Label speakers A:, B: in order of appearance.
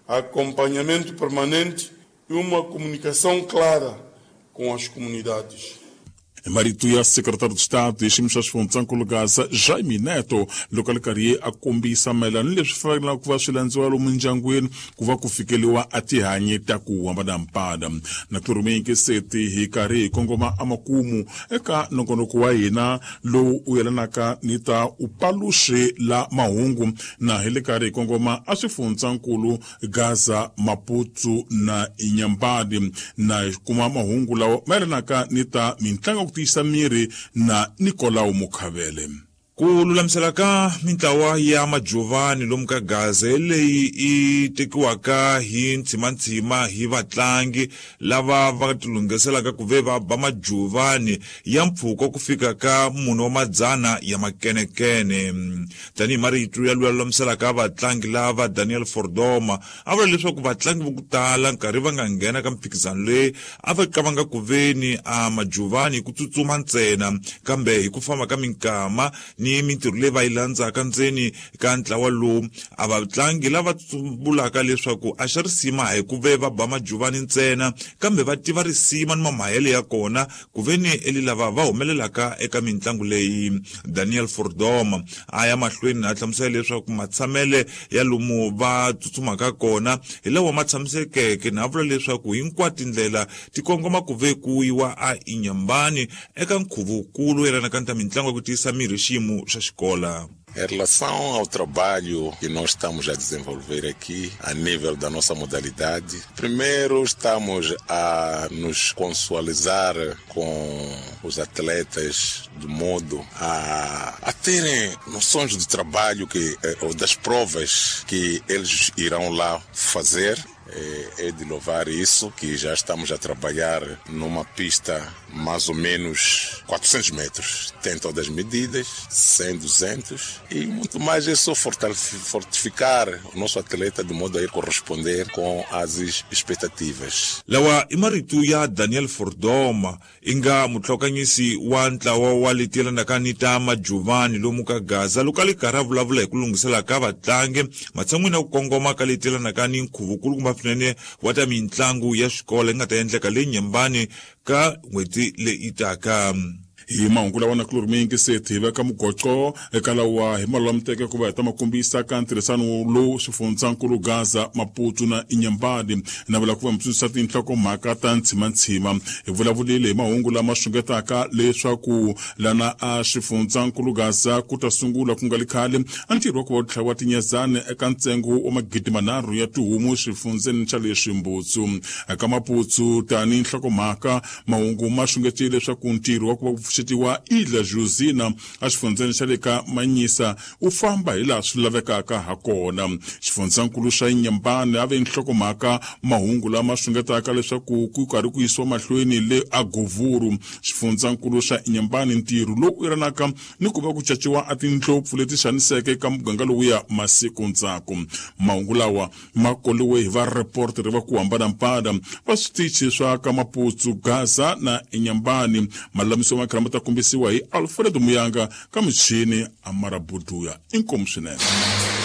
A: Acompanhamento permanente e uma comunicação clara com as comunidades.
B: Marito ya secretário de Estado xiyimo xa xifundzankulu Gaza Jaime Neto loko a ri karhi a kombisa mayelana ni leswi fanelaka ku va swi landziwa lomu ndyangwini ku va ku fikeliwa a tihanyi ta ku hambanahambana. Na ku rhumeyingiseti hi karhi hi kongoma emakumu eka nongonoko wa hina lowu u yelanaka ni ta upaluxi la mahungu, na hi le karhi hi kongoma a swifundzankulu Gaza, Maputo na Inhambane, na hi kuma mahungu lawa ma yelanaka ni ta mintlangu ya ku tiyisa miri na Nicolau Mukhavele.
C: Ku lulamisela ka mintlawa ya majuvani lomu ka Gaza leyi i tekiwaka hi ntshimantshima hi vatlangi lava va tilunghiselaka ku ve va ba majuvani ya mpfhuka ku fika ka mune wa madzana ya makenekene. Tanihi marito ya luya lulamiselaka vatlangi lava Daniel Fordoma a vula leswaku vatlangi vo ku tala nkarhi va nga nghena ka mphikizano leyi a va qavanga ku veni a majuvani hi ku tsutsuma ntsena, kambe hi ku famba ka minkama ni mintirho leyi va yi landzaka ndzeni ka ntlawa lowu, a vatlangi lava vulaka leswaku a xa risima a hi ku ve va ba majuvani ntsena, kambe va tiva risima ni mamahele ya kona ku veni eli lava va humelelaka eka mintlangu leyi. Daniel Fordoma a ya mahlweni a hlamusela leswaku matshamele ya lomu va tsutsumaka kona hi lawa ma tshamisekeke, na vula leswaku hinkwato tindlela ti kongoma ku ve ku yiwa a Inhambane eka nkhuvo-wukulu yelanaka ni ta mintlangu ya ku tiyisa miri xiyimo xa xikola.
D: Em relação ao trabalho que nós estamos a desenvolver aqui a nível da nossa modalidade, primeiro estamos a nos consualizar com os atletas de modo a terem noções do trabalho que, ou das provas que eles irão lá fazer. É de louvar isso, que já estamos a trabalhar numa pista mais ou menos 400 metros. Tem todas as medidas, 100, 200 e muito mais. É só fortificar o nosso atleta de modo a ir corresponder com as expectativas.
C: Lawa i marito ya Daniel Fordoma i nga mutlhokanyisi wa ntlawa wa leti yelanaka ni ta majuvani lomu ka Gaza loko a li karhi a vulavula hi ku lunghisela ka vatlangi matshan'wini ya ku kongoma ka leti yelanaka ni nkhuvo-kulukumba swinene wa ta mintlangu ya xikolo yi nga ta endleka le Nyembani ka n'hweti leyi taka.
B: Hi mahungu lawa na kulori miyingiseti hi veka mugoco eka lawa hi malulamuteke ku va hi ta ma kombisa ka ntirhisano lowu swifundzankulu Gaza, Maputo na Inhambane na vula ku va mi tsundzuxa tinhlokomhaka ta ntshimantshima. Hi vulavulile hi mahungu lama xungetaka leswaku lana a xifundzankulu Gaza ku ta sungula ku nga li khale a ntirho wa ku va ku tlhaviwa tinyezani eka ntsengo wa 3000 ya tihomu xifundzeni xa le Ximbutsu. Eka Maputo tani nhlokomhaka mahungu ma xungetile leswaku ntirho wa ku va ku pfuxetiwa Ilha Josina exifundzeni xa le ka Manyisa wu famba hi laha swi lavekaka ha kona. Xifundzankulu xa Inhambane a ve nhlokomhaka mahungu lama xungetaka leswaku ku karhi ku yisiwa mahlweni le Agovuru, xifundzankulu xa Inhambane, ntirho lowu yelanaka ni ku va ku caciwa a tindlopfu leti xaniseke eka muganga lowuya masiku ndzhaku. Mahungu lawa ma koliwe hi vareportere va ku hambanahambana va switichi swa ka Maputsu, Gaza na Inhambane. Malulamiso ma khala ma ta kombisiwa hi Alfredo Muyanga ka michini Amara Buduya. Inkomu swinene.